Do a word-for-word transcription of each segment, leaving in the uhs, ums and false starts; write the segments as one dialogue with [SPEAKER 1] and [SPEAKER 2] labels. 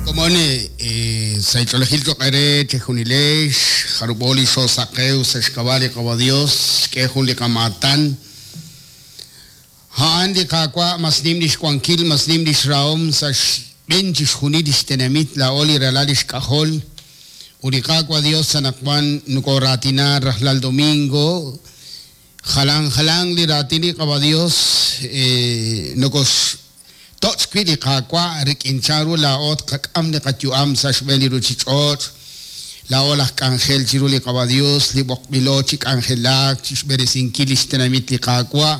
[SPEAKER 1] Komon sa' ch'oolejil choq' eere chejunilex jarub'o li xoosaqew sa' xk'ab'a' li Qawa' Dios xk'e jun li qamaatan a'an li Qaawa' mas nim lix wankil mas nim lix rahom sa' xb'een chixjunil lix tenamit laa'o li ralal lix k'ajol ut li Qaawa' Dios anaqwan nokoraatina rajlal domingo jalan jalan li raatin li Qawa' Dios nokos toch wi' li Qaawa' rik'in chanru laa'o tqak'am li qayu'am sa' xb'een li ruuchich'och' laa'o laj k'anjel chiru li Qawa' Dios li b'oqb'ilo chi k'anjelak chi xb'eresinkil lix tenamit li Qaawa'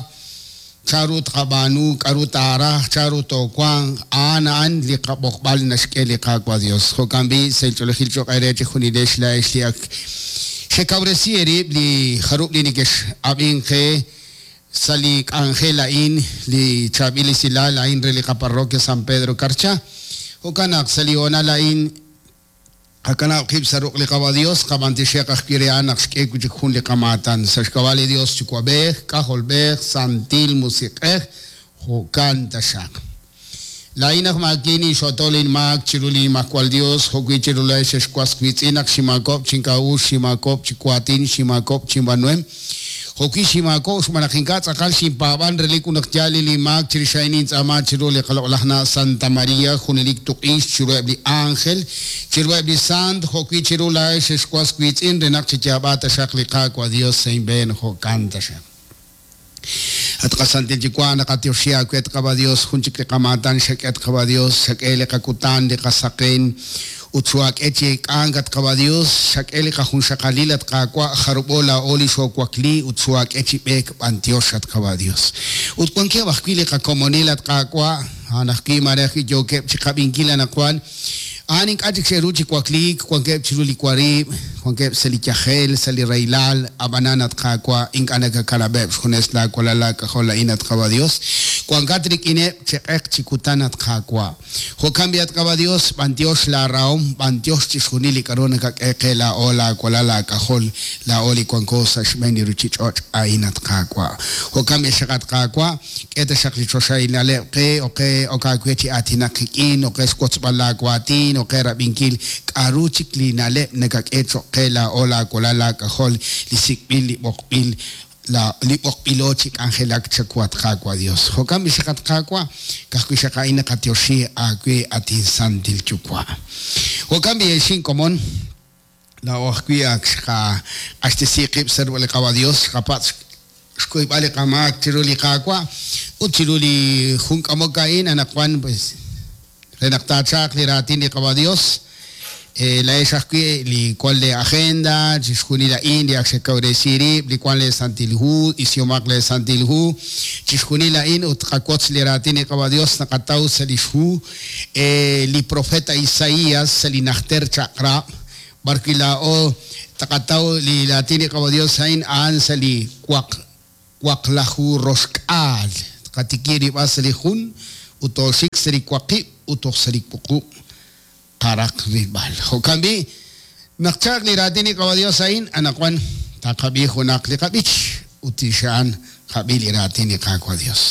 [SPEAKER 1] chanru tqab'aanu k'aru taaraj chanru toowanq a'an a'an li qab'oqb'al naxk'e li Qaawa' Dios jo'kan b'i' sa' ch'oolejil cho'q eere chejunilex laa'ex li ak xekawresi eerib' li jarub' li neke'x'ab'in qe sa' li k'anjel a'in li chaab'il esilal a'in re li qaparroquia San Pedro Carchá jo'kan naq sa' li hoonal a'in qakanab' qib' sa' ruq' li Qawa' Dios qab'antixeq ajwi' re a'an naq xk'e wi' chik jun li qamaatan sa' xk'ab'a' li Dios Yuwa'b'ej K'ajolb'ej Santil Musiq'ej jo'kan taxaq laa'in aj maakini xotol inmaak chiru li Nimajwal Dios jo'wi' chiru laa'ex xexwas wiitz'in naq ximaakop chink'a'uxl ximaakop chi waatin ximaakop chinb'aanuhem jo'wi' ximaakop xb'aan naq ink'a' tz'aqal xinpaab'an relik ut naq yaal li maak chirix a'in nintz'aama chiru li qaloq'laj na' Santa María junelik tuq'ix chiruheb' li ángel chiruheb' li sant jo'wi' chiru laa'ex xexwas wiitz'in re naq chiyaab'a taxaq li Qaawa' Dios sa' inb'een jo'kan taxaq At qasantil Yuwa' naqatioxi aawe Qawa' Dios jun chik li qamaatan xak'e Qawa' Dios xak'e li qakutan li qasaqen ut xoak'e chi k'ank at Qawa' Dios xak'e li qajunxaqalil at Qaawa' jarub'o laa'o li xoowakli ut xoak'e chi b'eek b'antiox at Qawa' Dios ut wankeb' ajwi' li qakomonil at Qaawa' a'an ajwi' mare ajwi' yookeb' chi qab'inkil anaqwan a'an ink'a' chik xe'ru chi wakliik wankeb' chiru li warib' wankeb' sa' li yajel sa' li rahilal ab'anan at Qaawa' ink'a' nakakanab'eb' xjunes laawalal laak'ajol a'in at Qawa' Dios wankat rik'ineb' cheq'eq chi kutan at Qaawa' jo'kan b'i at Qawa' Dios b'antiox laarahom b'antiox chixjunil li k'aru nakak'e qe laa'o laawalal laak'ajol laa'o li wanko sa' xb'een li ruuchich'och' a'in at Qaawa' jo'kan b'i xaq at Qaawa' k'e taxaq li choxahil na'leb' qe oqe ok aawe chi aatinaq qik'in oqe xwotzb'al laawaatin oqe rab'inkil k'aru chik li na'leb' nakak'e cho'q qe laa'o laawalal laak'ajol li sik'b'il li b'oqb'il la li b'oqb'ilo chi k'anjelak chawu at Qaawa' Dios jo'kan b'i xaq at Qaawa' ka'ajwi' xaq a'in naqatioxi aawe at insantil Yuwa' jo'kan b'i exin komon laa'o ajwi' ak xqaq'axtesi qib' sa' li Qawa' Dios xqapatz' xkuyb'al li qamaak chiru li Qaawa' ut chiru li jun k'amok a'in anaqwan pues re naq taachaq li raatin li Qawa' Dios laa'ex ajwi' li wan le agenda chixjunil a'in li ak xekawresi rib' li wan le Santil Hu isihomaq le Santil Hu chixjunil a'in ut qawotz li raatin li Qawa' Dios naqataw sa' lix hu li profeta Isaías sa' li najter chaq'rab' b'arwi' laa'o taqataw li raatin li Qawa' Dios a'in a'an sa' li waq waqlaju roxk'aal tqatiki rib'a sa' li jun ut tooxik sa' li waqib' ut toj sa' li wuqub' qaraq rilb'al jo'kan b'i' naq chaq li raatin li Qawa' Dios a'in anaqwan taqab'i junaq li qab'ich ut tixa'an qab'i li raatin li Qaawa' Dios.